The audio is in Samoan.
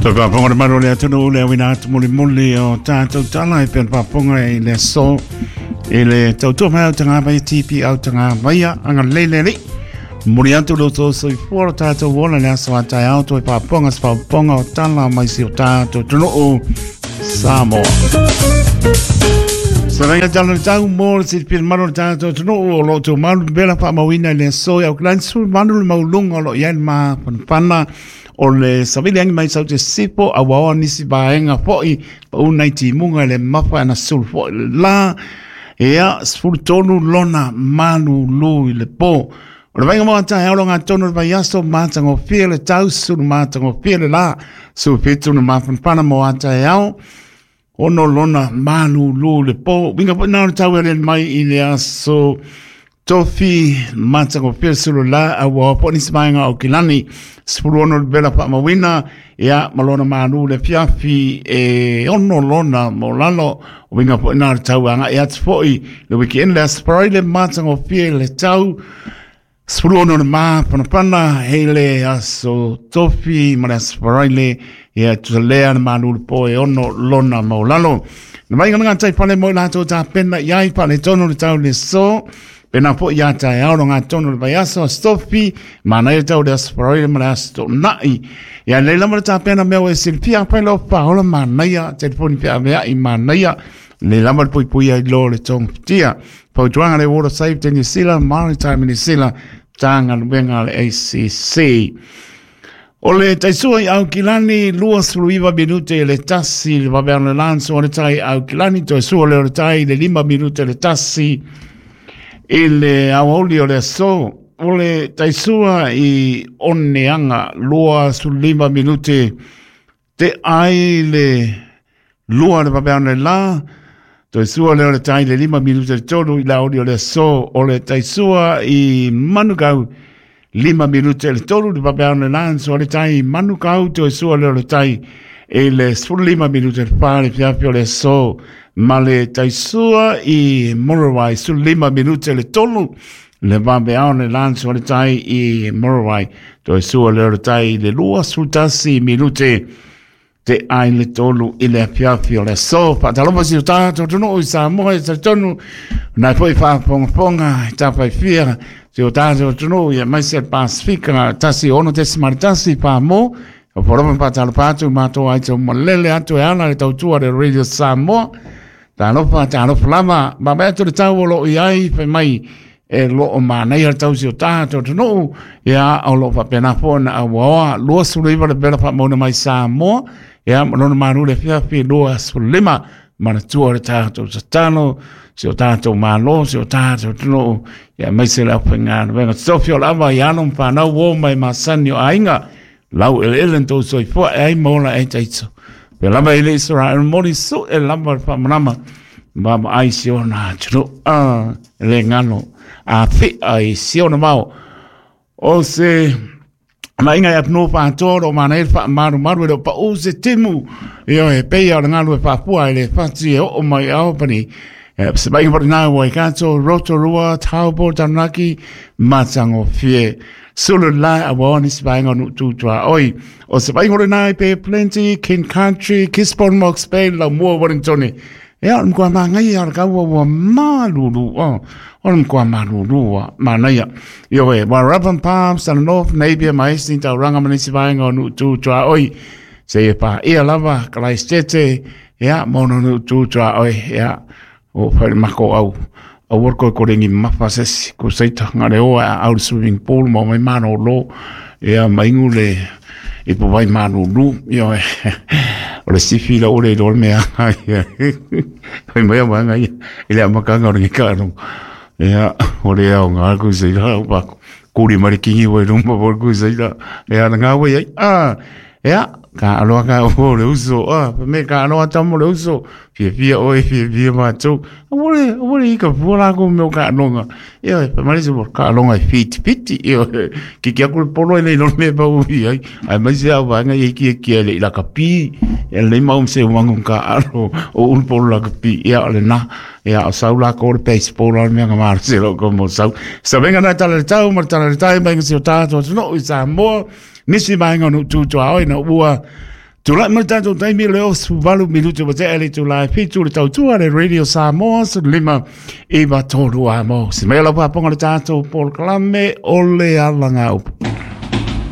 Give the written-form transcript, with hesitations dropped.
Toe faafofoga le malu o le atunuu le auina atu mulimuli o tatou tala e pei ona faafofoga i le aso i le tautua mai au tagavaia TP au tagavaia agalelei le Alii. Momoli atu lo outou soifua lo tatou ola i le aso a taeao toe faafofoga se faafofoga o tala mai si o tatou atunuu Samoa. Savaiga tala le tau mo le silafia malu o le tatou atunuu o lo o tumau le vela faamauina i le aso i Auckland 18 le maualuga o lo o i ai le mafanafana o le savili agi mai sau te sifo a ua oa nisi vaega foi pauna i timuga i le mafa ana sulu foi le la ia 13 lona malulu i le po. O le vaiga mo taeao lo tonu le vaiaso matagofie le tau sulu matagofie le la 17 na mafanafana mo taeao ono lona malulu le po. Winga foi na o le tau e mai i le aso Tofi matagofie sulu la a ua po nisi vaega o Kilani 16 le vela faamauina ia ma lona malu le fiafi e ono lona mo lalo o winga foi na o le tau agai atu foi le weekend le aso Friday matagofie le tau 16 le mapanapana hei le aso Tofi ma le aso Friday ia tusa lea le malu le po e ono lona mo lalo. Na mai ngana tai pale mo latou tapena i ai pale tono le tau le so. Pena po ia tai ao ngā tono le vaiaso a Stofi, mana e tau le aso Friday ma le aso To'ona'i. Ia nei lama le tapena mea o e silafia pai lau paola manaia, telefoni pe avea i manaia, nei lama le puipui ai lo le tongafitia. Fautuaga le Water Safety New Zealand, Maritime New Zealand, Matagaluega a le ACC. O le taisua i Aukilani, 29 minute i le tasi, le vaveano le lanso o le tai Aukilani, toe sua lea o le tai le 5 minute le tasi i le aoauli o le aso. O le taisua i Oneaga, 25 minute te ai le lua le vaveano le la, toe sua lea o le tai le 5 minute le tolu i le aoauli o le aso. O le taisua i Manukau, 5 minute le tolu le vaveano le lanso o le tai Manukau, toe sua lea o le tai i le 15 minute le fa le fiafi o le aso. Ma le taisua i Muriwai, 15 minute le tolu le vaveao le lanso o le tai i Muriwai, toe sua lea o le tai i le 21 minute te ai le tolu i le afiafi o le aso. Faatalofa si o tatou atunuu i Samoa e talitonu nai foi faafogafoga i tafaifia si o tatou atunuu ia aemaise le Pasifika 106.1 Pamo. O polofa faatalofa atu matou ai tau malele atu e ala le tautua le Radio Samoa. Talofa, talofa lava. Vaavaai atu le tau o lo o i ai, fai mai e lo o manaia le tausi o tatou atunuu, ia o lo o faapena foi ona auaoa 29 le vela faamauina mai Samoa, ia ma lona malu le afiafi 25 manatua le tatou tatalo, si o tatou Malo, si o tatou atunuu, ia aemaise le aufaigaluega. Tofi o lava i alo ma fanau uo mai masani o aiga, lau eleele na tou soifua e ai ma ola ai taito. Pe lava i le Israel moli su e lava le faamalama ma ma ai si ona atunuu. Ah, le ngalo a whia i si ona mao. O se maiga i atunuu faatoa o lo o manaia le faamalumalu e le o pau se timu. Ioe, e pei o le galu e faapua i le fati e oo mai i Albany. Se maiga foi lena Waikato, Rotorua, Taupo, Taranaki, matagofie. Sulu la a ua nisi vaega o Nuu Tuaoi. O se vaaiga o lena i Bay Plenty, King Country, Gisborne, Mox Bay, Laumua, Wellington. Ia, o le matua manaia o le kaua ua malulu. Oh, o le matua malulu ua manaia. Ioe, Warrabam Palms, Tana North, Napier, ma Hastings, Tauranga ma nisi vaega o Nuu Tuaoi. Se e paia lava, Kalaistete, ia, ma ona Nuu Tuaoi, ia, o whai mako au. Aua koe kore ngi mafa sesi, ko seita ngā le oa a au le swimming pool ma mai mano lo, ia maingu le i po vai manu lu, ia o le sifi la ore i lo mea, ia, hoi mai au anga ia, i le amakanga o le ngeka no, ia, o le au ngā ku seita, o pa, kuri mari kingi wai rumba por ku seita, ia, na ngā wai ai, ah, ia, ka aloa ka o le uso, ah, me ka aloa tamo le uso, fiafia oe, fiafia mātou. Aua le, aua le ika fua lākou me o kaaloga. Ioe, fai mai le isi, kaaloga e whitiwhiti. Ioe, kiki aku le polo e le iloa le mea e pau i ai. Aemaise lava o vaega ia e kiekie ai le i lakapi. Ia lelei mau ma se uaga o kaalo o ulu polo lakapi. Ia o lena, ia o sau lākou o le baseball a o le mea na malosi ai lou komo o sau. Savega nai tala i le tau ma le tala i le tai mai ga si o tātou atunuu i Samoa. Nisi vaega o nuu tu tuaoi na ua. Tulai mai tatou taimi le 68 minute ua tea le itula e 7 le tautua le Radio Samoa 15 9 3 a mo. Se mai lau paponga le tatou polokalame o le alagaupu.